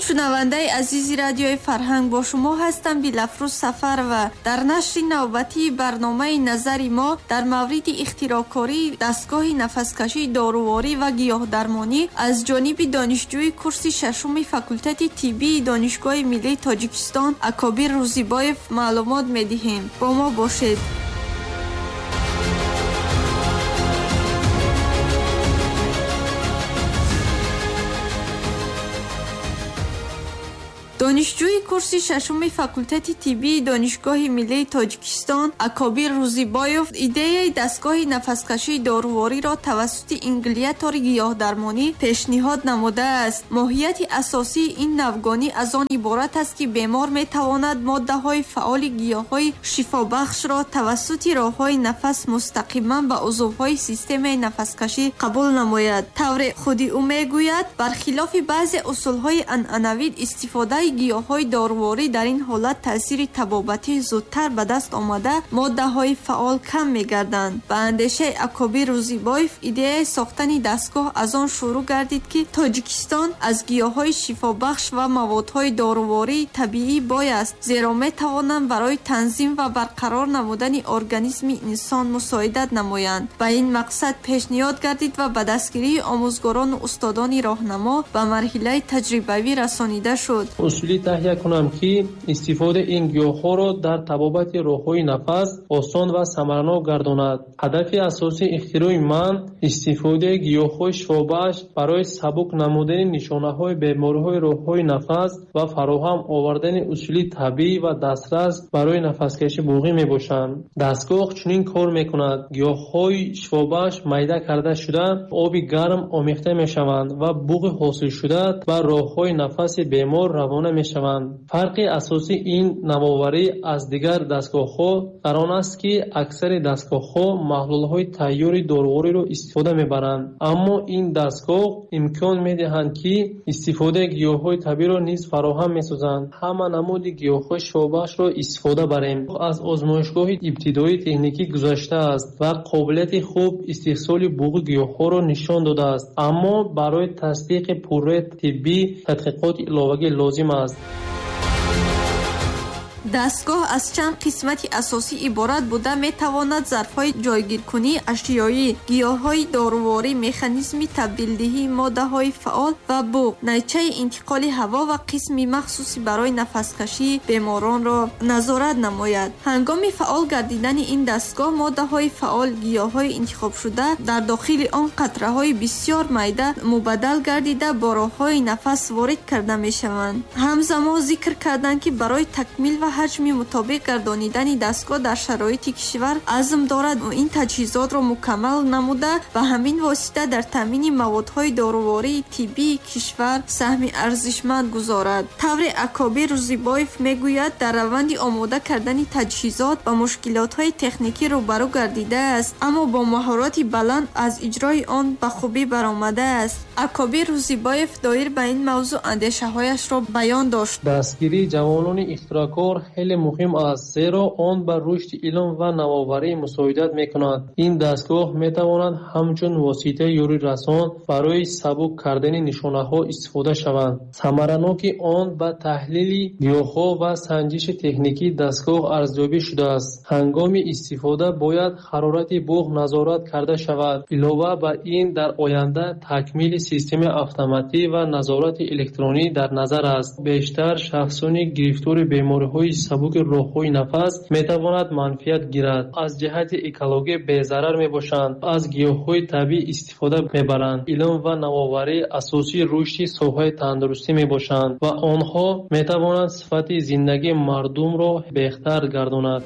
Шунавандаи азизи радиои фарҳанг, бо шумо ҳастам Дилафрӯз Сафарова. Дар нашри навбатии барномаи назари мо дар мавриди ихтироъкории дастгоҳи нафаскашии доруворӣ ва гиёҳдармонӣ аз ҷониби донишҷӯи курси шашуми факултети тиббии Донишгоҳи миллии Тоҷикистон Акобир Рӯзибоев маълумот медиҳем. Бо мо бошед. Донишҷӯи курси шашуми факултети тиббии Донишгоҳи миллии Тоҷикистон Акобир Рӯзибоев идеяи дастгоҳи нафаскашии дорувориро тавассути ингалятори гиёҳдармонӣ пешниҳод намудааст. Моҳияти асосии ин навгонӣ аз он иборат аст, ки бемор метавонад моддаҳои фаъоли гиёҳҳои шифобахшро тавассути роҳҳои нафас мустақиман ба узвҳои системаи нафаскашӣ қабул намояд. Тавре худи ӯ мегӯяд, бархилофи баъзе усулҳои анъанавӣ, истифодаи гиёҳҳои доруворӣ дар ин ҳолат таъсири табобатӣ зудтар ба даст омада, моддаҳои фаъол кам мегарданд. Ба андешаи Акобир Рӯзибоев, идеяи сохтани дастгоҳ аз он шурӯъ гардид, ки Тоҷикистон аз гиёҳҳои шифобахш ва маводҳои дорувории табиӣ бой аст, зеро метавонанд барои танзим ва барқарор намудани организми инсон мусоидат намоянд. Ба ин мақсад пешниҳод гардид ва ба дастгирии омӯзгорону устодони роҳнамо ба марҳилаи таҷрибавӣ расонида шуд. Усулӣ таҳия кунам, ки истифодаи ин гиёҳҳоро дар табобати роҳҳои нафас осон ва самаранок гардонад. Ҳадафи асосии ихтирои ман истифодаи гиёҳҳои шифобахш барои сабук намудани нишонаҳои бемориҳои роҳҳои нафас ва фароҳам овардани усули табиӣ ва дастрас барои нафаскашии буғӣ мебошанд. Дастгоҳ чунин кор мекунад: гиёҳҳои шифобахш майда карда шуда, оби гарм омехта мешаванд ва буғи ҳосилшуда ба роҳҳои нафаси бемор равона мешаванд. Фарқи асосии ин навоварӣ аз дигар дастгоҳҳо дар он аст, ки аксари дастгоҳҳо маҳлулҳои тайёри дорувориро истифода мебаранд, аммо ин дастгоҳ имкон медиҳанд, ки истифодаи гиёҳҳои табииро низ фароҳам месозанд. Ҳама намуди гиёҳҳои шифобахшро истифода барем. Аз озмоишгоҳи ибтидоии техникӣ гузаштааст ва қобилияти хуб истеҳсоли буғи гиёҳҳоро нишон додааст, аммо барои тасдиқи пурраи тиббӣ тадқиқоти иловагӣ лозим аст. Дастгоҳ аз чанд қисмати асосӣ иборат буда, метавонад зарфҳои ҷойгиркунии ашёӣ, гиёҳҳои доруворӣ, механизми табдилдиҳии моддаҳои фаъол ва буғ, найчаи интиқоли ҳаво ва қисми махсуси барои нафаскашии беморонро назорат намояд. Ҳангоми фаъол гардидани ин дастгоҳ, моддаҳои фаъол гиёҳҳои интихобшуда дар дохили он қатраҳои бисёр майда мубаддал гардида, бо роҳҳои нафас ворид карда мешаванд. Ҳамзамон зикр карданд, ки барои такмил ва ҳаҷми мутобиқ гардонидани дастгоҳ дар шароити кишвар азм дорад ин таҷҳизотро мукаммал намуда, ба ҳамин восита дар таъмини маводҳои дорувории тиббии кишвар саҳми арзишманд гузорад. Тавре Акобир Рӯзибоев мегӯяд, дар раванди омода кардани таҷҳизот ба мушкилотҳои техникӣ рӯбарӯ гардидааст, аммо бо маҳорати баланд аз иҷрои он ба хубӣ баромадааст. Акобир Рӯзибоев доир ба ин мавзӯъ андешаҳояшро баён дошт. Дастгирии ҷавонони ихтироъкор хеле муҳим аст, зеро он ба рушди илм ва навоварӣ мусоидат мекунад. Ин дастгоҳ метавонад ҳамчун воситаи ёрирасон барои сабук кардани нишонаҳо истифода шаванд. Самараноки он ба таҳлили гиёҳҳо ва санҷиши техникии дастгоҳ арзёбӣ шудааст. Ҳангоми истифода бояд ҳарорати буғ назорат карда шавад. Илова ба ин, дар оянда такмили системаи автоматӣ ва назорати электронӣ дар назар аст. Бештар шахсони гирифтори бемориҳои сабуки роҳҳои нафас метавонад манфиат гирад. Аз ҷиҳати экологӣ безарар мебошанд, аз гиёҳҳои табиӣ истифода мебаранд. Илм ва навоварӣ асосии рушди соҳаи тандурустӣ мебошанд ва онҳо метавонанд сифати зиндагии мардумро беҳтар гардонад.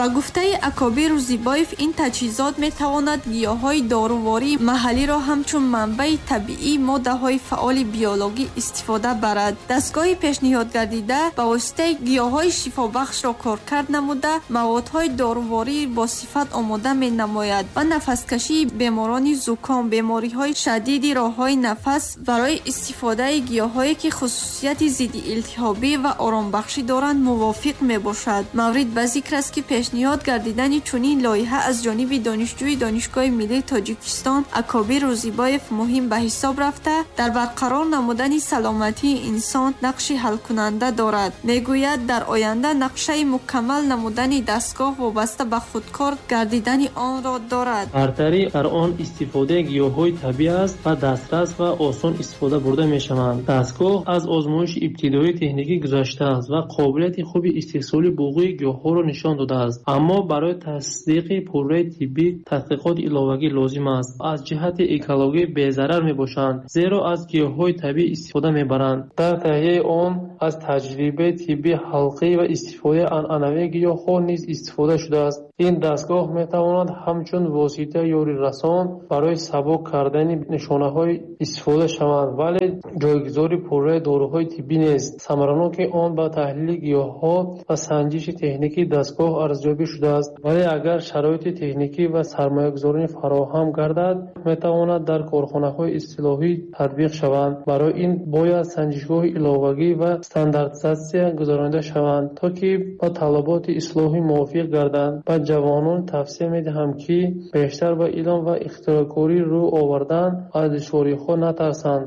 Ба гуфтаи Акобир Рӯзибоев, ин таҷҳизот метавонад гиёҳҳои дорувории маҳаллиро ҳамчун манбаи табиии моддаҳои фаъоли биологӣ истифода барад. Дастгоҳи пешниҳодгардида ба воситаи гиёҳҳои шифобахшро коркард намуда, маводҳои дорувории босифат омода менамояд ва нафаскашии беморони зуком, бемориҳои шадиди роҳҳои нафас барои истифодаи гиёҳҳое ки хусусияти зидди илтиҳобӣ ва оромбахшӣ доранд мувофиқ мебошад. Маврид ба зикр аст, ки пешниҳод Пешниҳод гардидани чунин лоиҳа аз ҷониби донишҷӯи Донишгоҳи миллии Тоҷикистон Акобир Рӯзибоев муҳим ба ҳисоб рафта, дар барқарор намудани саломатии инсон нақши ҳалкунанда дорад. Мегӯяд, дар оянда нақшаи мукаммал намудани дастгоҳ вобаста ба худкор гардидани онро дорад. Бартарӣ дар он истифодаи гиёҳҳои табиӣ аст ва дастрас ва осон истифода бурда мешаванд. Дастгоҳ аз озмоиши ибтидоии техникӣ гузаштааст ва қобилияти хуби истеҳсоли буғӯи гиёҳҳоро нишон додааст. Аммо барои тасдиқи пурраи тиббӣ таҳқиқоти иловагӣ лозим аст. Аз ҷиҳати экологӣ безарар мебошанд, зеро аз гиёҳҳои табиӣ истифода мебаранд. Дар таҳияи он аз таҷрибаи тиббии халқӣ ва истифодаи анъанавии гиёҳҳо низ истифода шудааст. Ин дастгоҳ метавонад ҳамчун воситаи ёрирасон барои сабук кардани нишонаҳои истифода шаванд, вале ҷойгузори пурраи доруҳои тиббӣ нест. Самаранокии он ба таҳлили гиёҳҳо ва санҷиши техникии дастгоҳ арзёбӣ шудааст, вале агар шароити техникӣ ва сармоягузорӣ фароҳам гардад, метавонад дар корхонаҳои истилоҳӣ татбиқ шаванд. Барои ин бояд санҷишгоҳи иловагӣ ва стандартизатсия гузаронида шаванд, то ки ба талаботи ислоҳӣ мувофиқ гарданд. Ба ҷавонон тавсия медиҳам, ки бештар ба илм ва ихтироъкорӣ рӯ овардан, аз душвориҳо натарсанд.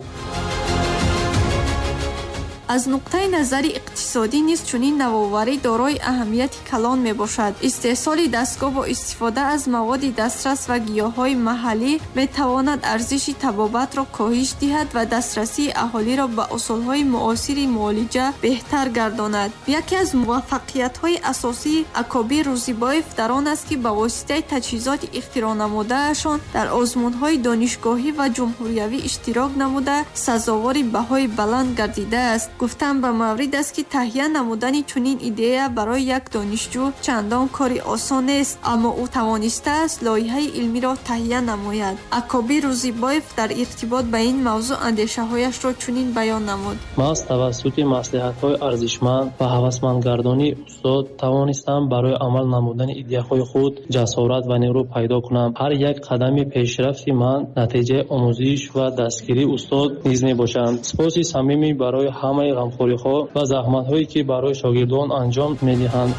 Аз нуқтаи назари иқтисодӣ низ чунин навоварӣ дорои аҳамияти калон мебошад. Истеҳсоли дастгоҳ бо истифода аз маводи дастрас ва гиёҳҳои маҳаллӣ метавонад арзиши табобатро коҳиш диҳад ва дастрасии аҳолиро ба усулҳои муосири муолиҷа беҳтар гардонад. Яке аз муваффақиятҳои асосии Акобир Рӯзибоев дар он аст, ки ба воситаи таҷҳизоти ихтироънамудаашон дар озмунҳои донишгоҳӣ ва ҷумҳуриявӣ иштирок намуда, сазовори баҳои баланд гардидааст. Гуфтан ба маврид аст, ки таҳия намудани чунин идея барои як донишҷӯ чандон кори осон нест, аммо ӯ тавонистааст лоиҳаи илмиро таҳия намояд. Акобир Рӯзибоев дар иртибот ба ин мавзӯъ андешаҳояшро чунин баён намуд. Ман тавассути маслиҳатҳои арзишманд ва ҳавасмандгардонии устод тавонистам барои амал намудани идеяҳои худ ҷасорат ва нерӯ пайдо кунам. Ҳар як қадами пешрафти ман натиҷаи омӯзиш ва дастгирии устод низ мебошанд. Сипоси самимӣ барои ҳамаи ғамхориҳо ва заҳматҳое, ки барои шогирдон анҷом медиҳанд.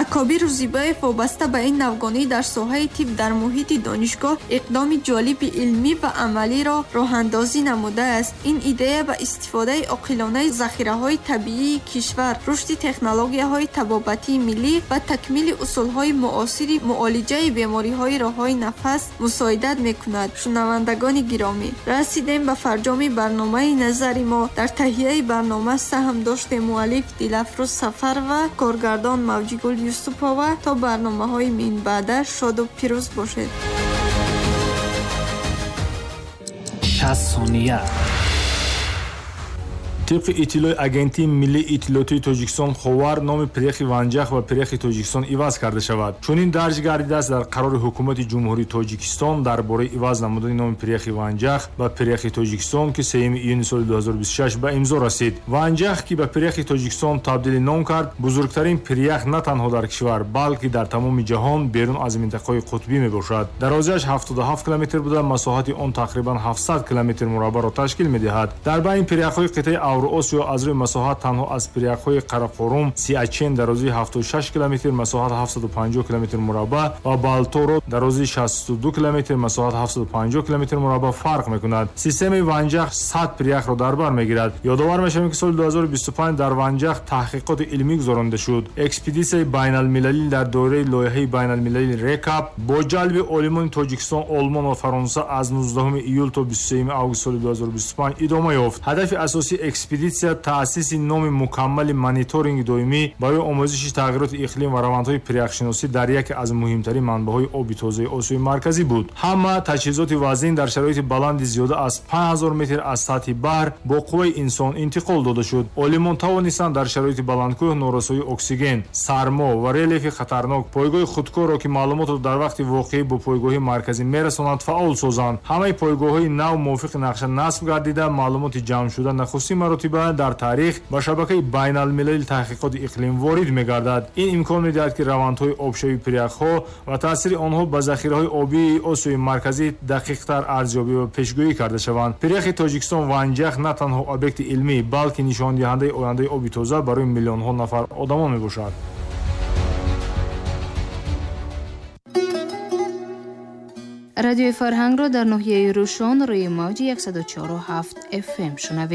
Акобир Рӯзибоев вобаста ба ин навгонӣ дар соҳаи тиб дар муҳити донишгоҳ иқдоми ҷолиби илмӣ ва амалиро роҳандозӣ намудааст. Ин идея ба истифодаи оқилонаи захираҳои табиии кишвар, рушди технологияҳои табобатии миллӣ ва такмили усулҳои муосири муолиҷаи бемориҳои роҳҳои нафас мусоидат мекунад. Шунавандагони гиромӣ, расидем ба фарҷоми барномаи назари мо. Дар таҳияи барнома саҳм доштем муаллиф Дилафрӯз Сафарова, коргардон Мавҷигул Юсупова. То барномаҳои минбаъда шоду пирӯз бошед. 60 сония. Тибқи иттилои Агентии миллии иттилоотии Тоҷикистон Ховар, номи пиряхи Ванҷах ба пиряхи Тоҷикистон иваз карда шавад. Чунин дарҷ гардидааст дар қарори Ҳукумати Ҷумҳурии Тоҷикистон дар бораи иваз намудани номи пиряхи Ванҷах ба пиряхи Тоҷикистон, ки 3 июни соли 2026 ба имзо расид. Ванҷах, ки ба пиряхи Тоҷикистон табдили ном кард, бузургтарин пирях на танҳо дар кишвар, балки дар тамоми ҷаҳон берун аз минтақаҳои қутбӣ мебошад. Дарозиаш 77 километр буда, масоҳати он тақрибан 700 километр мураббаъро ташкил медиҳад. Дар байни пиряхҳои қитъаи Авроосиё аз рӯи масоҳат танҳо аз пиряхҳои Қарақорум, Сиачен дарозии 76 километр, масоҳат 750 километр мураббаъ ва Балторо дарозии 62 километр, масоҳат 750 километр мураббаъ фарқ мекунад. Системаи Ванҷах 100 пиряхро дар бар мегирад. Ёдовар мешавем, ки соли 2025 дар Ванҷах таҳқиқоти илмӣ гузаронида шуд. Экспедитсияи байналмилалӣ дар доираи лоиҳаи байналмилалии РЕКАП бо ҷалби олимони Тоҷикистон, Олмон ва Фаронса аз 19 июл то 23 август соли 2025 идома ёфт. Ҳадафи асосии экспедитсия таъсиси номи мукаммали мониторинги доимӣ барои омӯзиши тағйироти иқлим ва равандҳои пиряхшиносӣ дар яке аз муҳимтарин манбаъҳои оби тозаи Осиёи Марказӣ буд. Ҳама таҷҳизоти вазин дар шароити баланди зиёда аз 5000 метр аз сатҳи баҳр бо қувваи инсон интиқол дода шуд. Олимон тавонистанд дар шароити баландкӯҳ норасоии оксиген, сармо ва релефи хатарнок пойгоҳи худкорро, ки маълумотро дар вақти воқеӣ бо пойгоҳи марказӣ мерасонанд, фаъол созанд. Ҳамаи пойгоҳҳои нав мувофиқи нақша насб гардида, маълумоти ҷамъшуда нахустин маротиба маротиба дар таърих ба шабакаи байналмилалии таҳқиқоти иқлим ворид мегардад. Ин имкон медиҳад, ки равандҳои обшавии пиряхҳо ва таъсири онҳо ба захираҳои обии Осиёи Марказӣ дақиқтар арзёбӣ ва пешгӯӣ карда шаванд. Пиряхи Тоҷикистон Ванҷах на танҳо объекти илмӣ, балки нишондиҳандаи ояндаи оби тоза барои миллионҳо нафар одамон мебошад. Радиои Фарҳангро дар ноҳияи Рӯшон рӯи мавҷи 104,7 FM шунавед.